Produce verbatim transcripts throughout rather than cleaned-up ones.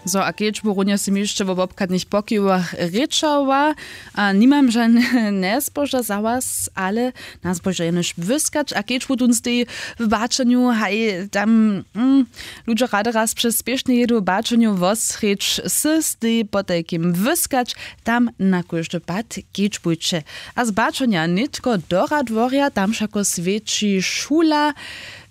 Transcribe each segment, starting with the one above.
Zo a kedźbu runje sym hišće wo wobchadnych pokiwach rěčała, a nimam žane njespoža za was, ale nas móža jenož wyskać a kedźbu tón stej w baćenju haj tam mm, ludźo rady raz přez spěšne jedu w baćenju wosrěč sy stej potajkim wyskać. Tam na kóždy pad kedźbujće. A z baćenja nětko do radworja tam wšako swjeći šula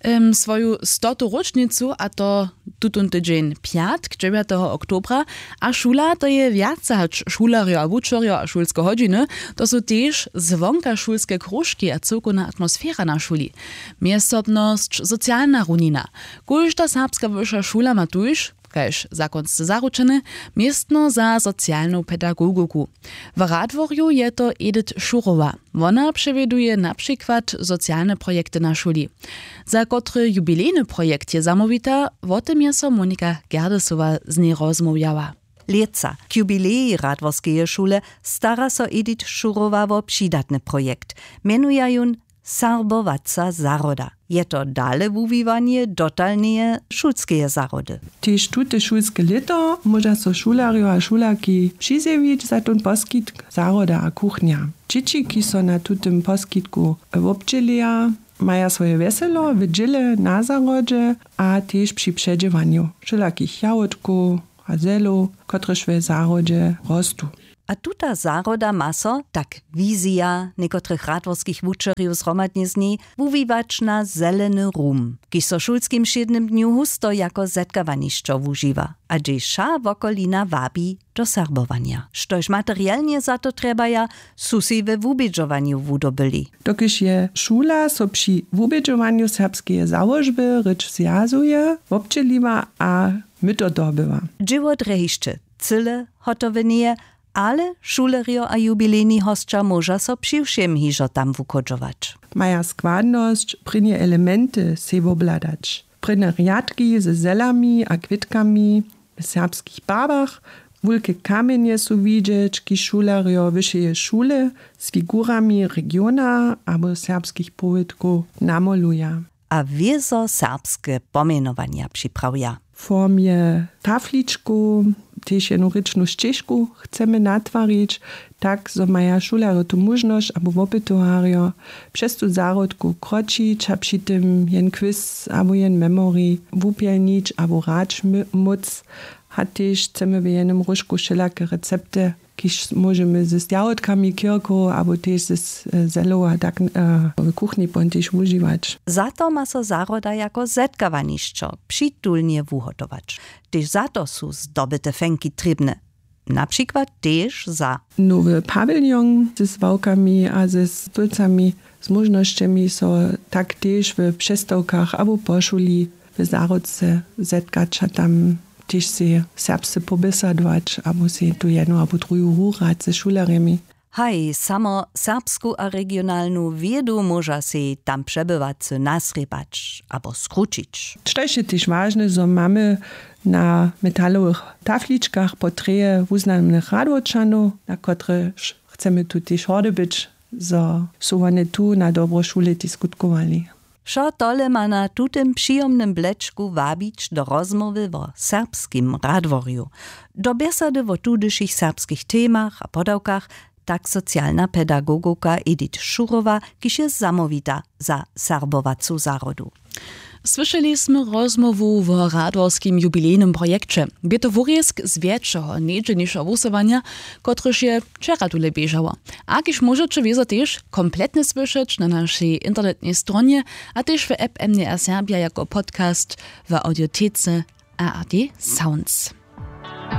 em, swoju stotu róčnicu a to tutón tydźeń pjatk dźewjateho oktobra. A šula to je wjace hač šulerjo a wučerjo a šulske hodźiny. To su tež zwonkašulske króžki a cyłkowna atmosfera na šuli, mjezsobnosć, socialna runina. Kóžda serbska wyša šula ma tuž, kaž zakonsce zaručene, městno za socialnu pedagogowku. W radworju je to Edith Šurowa. Wona přewjeduje na přikład socialne projekty na šuli. Za kotry jubilejny projekt je zamołwita, wo tym je so Monika Gerdesowa z njej rozmołwjała. Lětsa k jubilejej radworskeje šule stara so Edith Šurowa wo přidatny projekt. Mjenuja jón Serbowaca zahroda. Je to dale wuwiwanje dotalneje šulskeje zahrody. Tež tute šulske lěto móža so šulerjo a šulerki přizjewić za tón poskitk zahroda a kuchnja. Dźěći kiž so na tutym poskitku wobdźěleja, maja swoje wjeselo w dźěle na zahrodźe a tež při předźěwanju wšelakich jahódkow a zelow, kotrež w zahrodźe rostu. A tuta zahroda ma so, tak wizija někotrych radworskich wučerjow zhromadnje z njej, wuwiwać na zeleny rum, kiž so w šulskim wšědnym dnju husto jako zetkawanišćo wužiwa a hdźež wša wokolina wabi do serbowanja. Štož materialnje za to trjebaja, su sej we wubědźowanju wudobyli. Dokelž je šula so při wubědźowanju serbskeje załožby rěč zwjazuje wobdźěliła a myto dobyła. Dźěło drje hišće cyle hotowe njeje, ale šulerjo a jubilejni hosća móža so přiwšěm hižo tam wuchodźować. Maja składnosć, prěnje elementy sej wobhladać, prěnje rjadki ze zelami a kwětkami w serbskich barwach. Wulke kamjenje su widźeć kiž šulerjo wyšeje šule z figurami regiona abo serbskich powědkow namoluja. A wězo serbske pomjenowanja připravja. W formje tafličkow tež jenu rěčnu šćežku chcemy natwarić, tak zo maja šulerjo tu móžnosć abo wopytowarjo přez tu zahrodku kročić a při tym jen kwis abo jen memorij wupjelnić abo hrać móc. A tež chcemy w jenym róžku wšelake recepty, kiž móžemy z jahódkami kirkow abo tež z zelow a tak w kuchni pon tež wužiwać. Za to ma so zahroda jako zetkawanišćo přitulnje wuhotować. Tež za to su zdobyte fenki trěbne, na přikład tež za nowy pawiljon ze swałkami a ze stólcami, z móžnosćemi so tak tež w přestawkach abo po šuli w zahrodce zetkać a tam tež sej serbsce poběsadować abo sej tu jednu abo druhu hurać ze šulerjemi. Haj, samo serbsku a regionalnu wědu móža sej tam přebywacy nasrěpać abo skrućić. Štož je tež wažne, zo mamy na metalowych tafličkach portreje wuznamnych radworčanow, na kotrež chcemy tu tež hordy być, zo su wone tu na dobro šule tež skutkowali. Wšo tole ma na tutym přijomnym blečku wabić do rozmołwy wo serbskim radworju, do bjesady wo tudyšich serbskich temach a podawkach, tak socialna pedagogowka Edith Šurowa, kiž je zamołwita za serbowacu zahrodu. Słyšeli smy rozmołwu wo radworskim jubilejnym projekće. Bě to wurězk z wjetšeho njedźelnišeho wusyłanja, kotryž je wčera tule běžało, a kiž móžeće wězo tež kompletnje słyšeć na našej internetnej stronje a tež w app M D R Serbia jako podcast w audiotece A R D Sounds.